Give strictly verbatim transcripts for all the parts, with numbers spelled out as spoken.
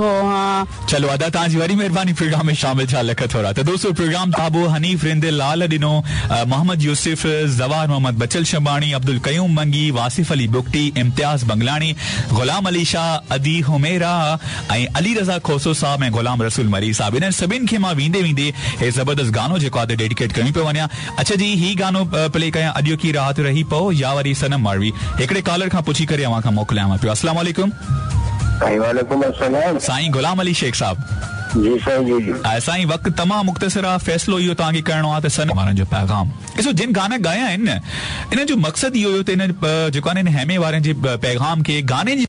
हाँ। चलो अदा तव्हांजी वॾी महिरबानी प्रोग्राम में शामिल थिया, लख थोरा। त दोस्तो प्रोग्राम ताबो हनीफ रिंद लाल ॾिनो, मोहम्मद यूसुफ, ज़वार मोहम्मद बचल शबाणी, अब्दुल कयूम मंगी, वासिफ अली बुगटी, इम्तियाज़ बंगलाणी, ग़ुलाम अली शाह, अदी हुमेरा ऐं अली रज़ा खोसो साहब ऐं ग़ुलाम रसूल मरी साहब, इन्हनि सभिनि खे मां वेंदे वेंदे हे ज़बरदस्त गानो जेको आहे डेडिकेट कयूं पियो वञा। अच्छा जी, ही गानो प्ले कयां, अॼोकी रात रही पओ या वरी सनम मारवी। हिकिड़े कॉलर खां पुछी करे अव्हां खां मोकिलियांव पियो। अस्सलाम वालेकुम। वालेकुम अस्सलाम। साईं ग़ुलाम अली शेख साहब। जी साईं, जी जी। साईं वक़्तु तमामु मुख़्तसिर आहे, फ़ैसिलो इहो तव्हांखे करिणो आहे त सनम वारनि जो पैगाम ॾिसो, जिन गाना ॻाया आहिनि न, इन जो मक़सदु इहो हुयो त इन जेको आहे न, इन हेमे वारनि जे पैगाम खे गाने जी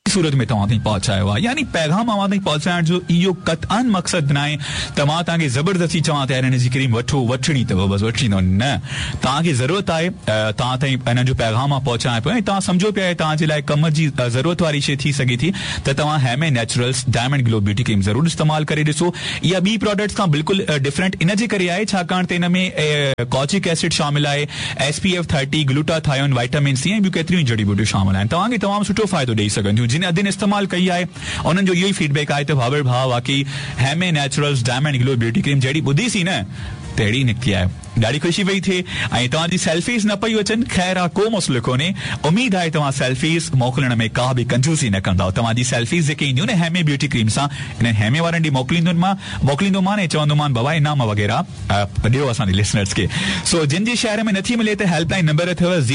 सूरत में तव्हां ताईं पहुचायो आहे। यानी पैगाम अव्हां ताईं पहुचाइण जो इहो क़तअन मक़सदु न आहे त मां तव्हांखे ज़बरदस्ती चवां त यार हिन जी क्रीम वठो, वठणी अथव, बसि वठणी अथव, न, तव्हांखे ज़रूरत आहे, तव्हां ताईं हिन जो पैगाम मां पहुचायां पियो ऐं तव्हां सम्झो पिया तव्हांजे लाइ कम जी ज़रूरत वारी शइ थी सघे थी त तव्हां Heme naturals diamond glow beauty cream ज़रूरु इस्तेमालु करे ॾिसो। इहा ॿी प्रोडक्ट्स खां बिल्कुलु डिफरेंट इन जे करे आहे छाकाणि त हिन में कॉचिक एसिड शामिलु आहे, S P F thirty, glutathione, vitamin C ऐं ॿियूं केतिरियूं जड़ी बूटियूं शामिलु आहिनि। तव्हांखे तमामु सुठो फ़ाइदो ॾेई सघनि थियूं। जिन अदिन इस्तेमालु कई आहे उन्हनि जो इहो ई फीडबैक आहे त भावर भाउ वाकई Heme naturals diamond glow beauty cream जहिड़ी ॿुधीसीं न तहिड़ी निकिती आहे। ॾाढी ख़ुशी पई थिए ऐं तव्हांजी सेल्फीज़ न पई अचनि, ख़ैर आहे, को मसइलो कोन्हे। उमेद आहे तव्हां सेल्फीज़ मोकिलण में का बि कंजूसी न कंदव। तव्हांजी सेल्फीज़ जेके ईंदियूं न हेमे ब्यूटी क्रीम सां, इन हेमे वारनि ॾे मोकिलींदुमि मां, मोकिलींदोमान ऐं चवंदोमान बाबा इनाम वग़ैरह ॾियो असांजे लिसनर्स खे। सो जिन जे शहर में नथी मिले त हेल्पलाइन नंबर अथव